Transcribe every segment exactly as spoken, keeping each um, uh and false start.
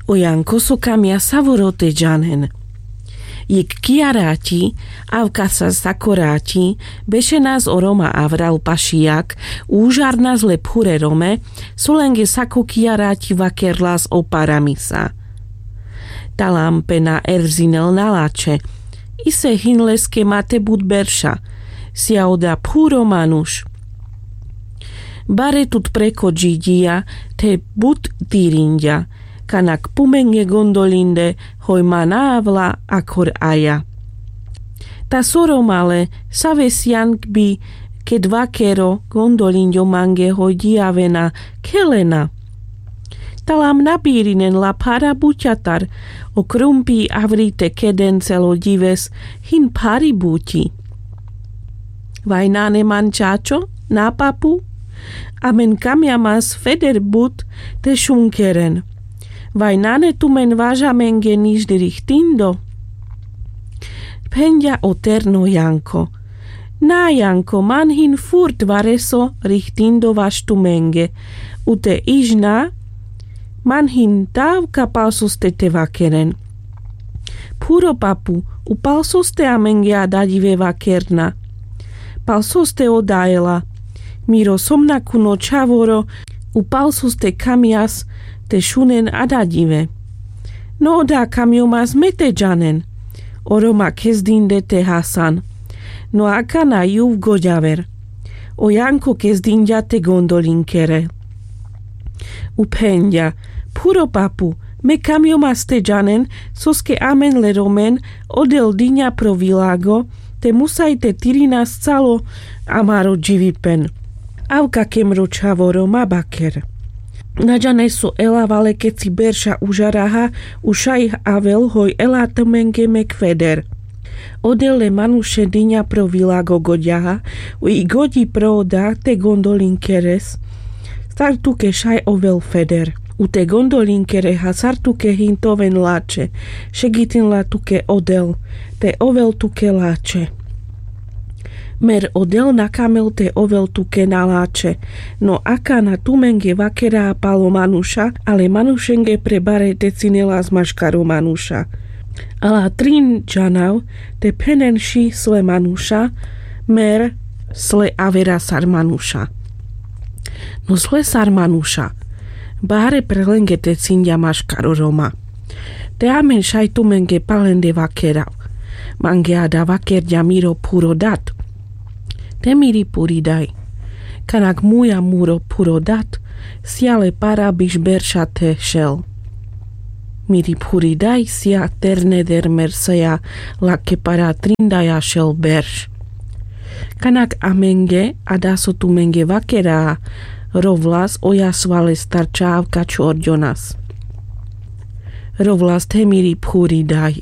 O janko so kamia savoro te džanen. Jek kijarati avkasas sakorati bešenas o roma avral pašijak, užarnas le phure rome, so lenge sako kijarati vakerlas o paramisa. Talam pena erzinel na lače. Ise hin leske mate but berša. Sija oda phuro manuš. Bare tut preko džidžija te but tirinďa. Kanak pumenge gondolinde hoj ma na avla akor aja. Ta so romale save sijan bi ked vakero gondolinďo mange hoj džijavena khelena. Talam na birinen la phara buťatar. O krumpi avri te keden celo ďives hin phari buťi. Vaj nane man čačo, na papu? Amen kamjamas feder but te šunkeren. Vaj nane tumen važamenge nižde rihtindo? Phenďa o terno janko. Na janko, man hin furt vareso rihtindo vaš tumenge. U te ižna man hin tav ka pal soste te vakeren. Phuro papu, u pal soste amenge adaďive vakerna? Pal soste oda ela. Miro somnakuno čhavoro, u pal soste kamjas te šunen adaďive. No oda kamjomas me te džanen. O roma kezdinde te hasan. No akana juv goďaver. O janko kezdinďa te gondolinkere. U phenďa: Phuro papu, me kamjomas te džanen, soske amen le romen odel diňa pro vilago, te musaj te tirinas calo amaro dživipen. Avka kemro čhavoro, ma baker. Na džane so ela vale keci berša užaraha, u šaj avel hoj ela tumenge mek feder. Odel le manuše diňa pro vilago goďaha, u i goďi pro oda te gondolinkeres. Sar tuke šaj ovel feder. U te gondolinkere hasar tuke hin te oven lače. Šegitin la tuke odel te ovel tuke lače. Mer odel na kamel te ovel tuke na lače. No akana tumenge vakera palo manuša, ale manušenge pre bare te cinelas maškaro manuša. Ala trin džanav te phenen ši sle manuša, mer sle avera sar manuša. No sle sar manuša. Bare pre lenge te cinďa maškaro roma. Te amen šaj tumenge palende vakerav. Mange ada vakerďa miro phuro dat. Te miri phuri daj. Kanak muja muro phuro dat, sija le para biš berša te šel. Miri phuri daj sija terne der mer sija lake para trindaja šel berš. Kanak amenge, ada so tumenge vakera, rovlas oja sva lestar čhavka čorďonas. Rovlas te miri phuri daj.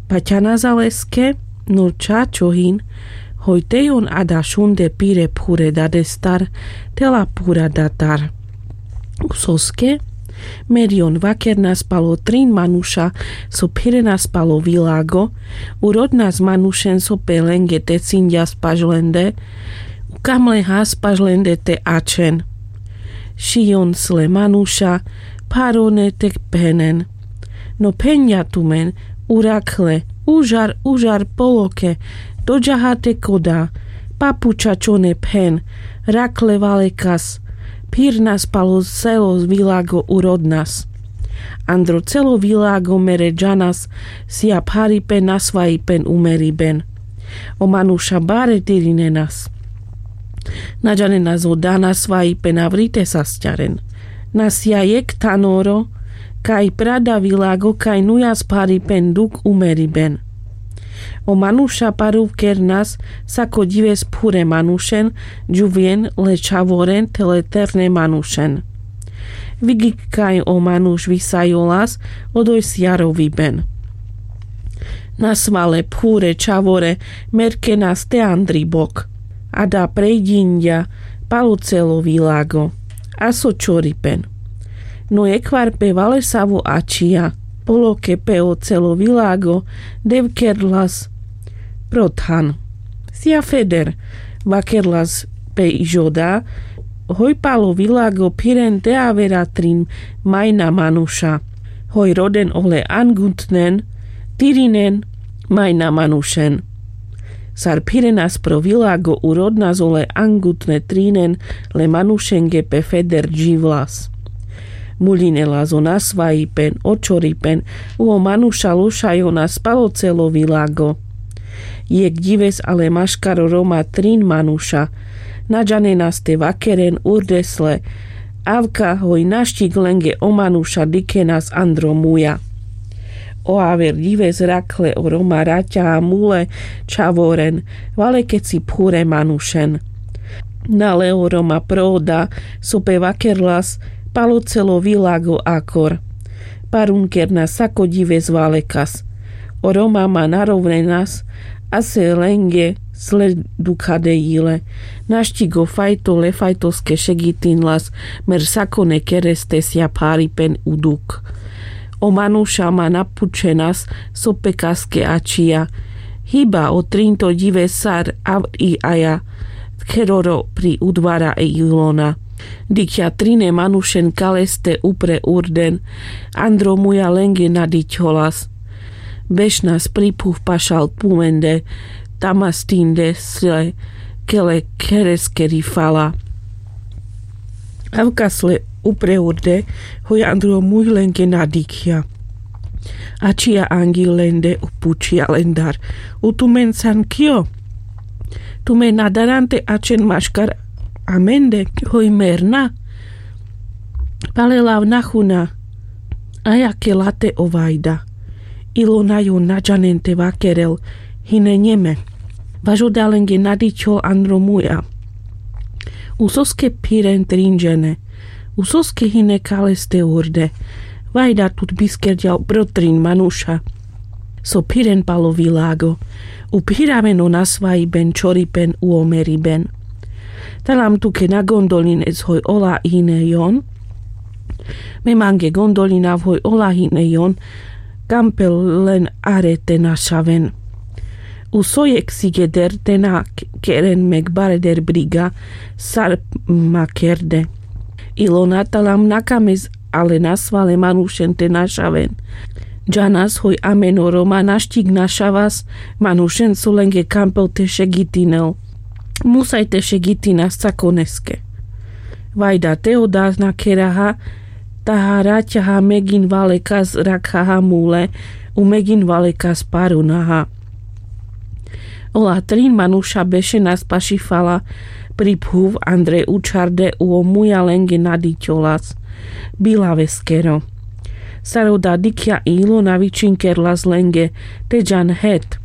Paťanas a leske, no čačo hin, hoj te jon ada šunde pire phure dadestar, te la phura datar. Soske, mer jon vakernas palo trin manuša, so phirenas palo vilago, u rodnas manušen so pe lenge te cinďas paš lende, u kam le has paš lende te ačen. Ši jon sle manuša, pharone te phenen. No phenďa tumen, u rakhle, užar, užar poloke, doďaha te koda, papu čačone phen, rakhle valekas, phirnas palo celo vilago u rodnas. Andro celo vilago mere džanas, sija pharipen nasvajipen umeriben. O manuša bare tirinenas. Na džanenas oda nasvajipen avri te sasťaren. Na sija jek thanoro, kaj prada vilago kaj nujas pharipen duk umeriben. O manuša paruvkernas, sako ďives phure manušen, džuvjen le čhavoren te le terne manušen. Vigik kaj o manuš visajolas, odoj sija roviben. Nasvale phure čhavore merkenas te andri bok. Ada prejdinďa palo celo vilago. A so čoripen. No jekhvar pe valesavo ačija. Poloke pe o celo vilago, devkerlas pro than. Sija feder, vakerlas pe ižoda, Hoj palo vilago phiren te avera trin majna manuša. Hoj roden ole angutnen tirinen majna manušen. Sar phirenas pro vilago u rodnas ole angutne trinen le manušenge pe feder dživlas. Muľinelas o nasvajipen o čoripen u o manuša lošajonas palo celo vilago. Jekh ďives ale maškar o roma trin manuša. Na džanenas te vakeren urdesle. Avka hoj naščik lenge o manuša dikhenas andro muja. O aver ďives rakhle o roma raťa a mule čhavoren valekeci phure manušen. Nale o roma pro oda so pe vakerlas palo celo vilago akor. Parunkernas sako ďives valekas. O roma ma narovnenas a se lenge sle dukha de jile. Naščik o fajto le fajtoske šegitinlas mer sakone kereste sja pharipen u duk. O manuša ma napučenas so pe kaske ačija. Hiba o trinto ďives sar avri aja kheroro pri udvara e ilona. Dikhja trine manušen kaleste upre urden. Andro muja lenge na dikhjolas. Bešnas pri phuv pašal pumende. Tamas tinde sle kele khereskeri fala. Avka sle upre urde hoj andro muj lenge na dikhja. Ačija angil lende u pučija lendar: U tumen san kio? Tumen na daran te ačen maškar amende? Hoj mer na. Pale lav na huna. Aja ke late o vajda. Ilona jon na džanen te vakerel. Hine njeme. Vaš oda lenge na dikhjol andro muja. Usoske phiren trin džene? Usoske hine kaleste urde? Vajda tut biskerďal pro trin manuša so phiren palo vilago. U phiraven o nasvajiben čoripen u o meriben. Talam tuke na gondolines hoj ola hine jon. Me mange gondolinav hoj ola hine jon. Kampel len are te našaven. U so jekh sigeder te na keren mek bareder briga sar ma kerde. Ilona talam na kames ale nasvale manušen te našaven. Džanas hoj amen o roma naščik našavas manušen so lenge kampel te šegitinel. Musaj te šegitinas sakoneske. Vajda te oda na kheraha. Taha raťaha megin valekas rakhaha mule u megin valekas parunaha. Ola trin manuša bešenas paši fala pri phuv andre učharde u o muja lenge na dikhjolas. Bilaveskero. Sar oda dikhja i Ilona vičinkerlas lenge: Te džan het.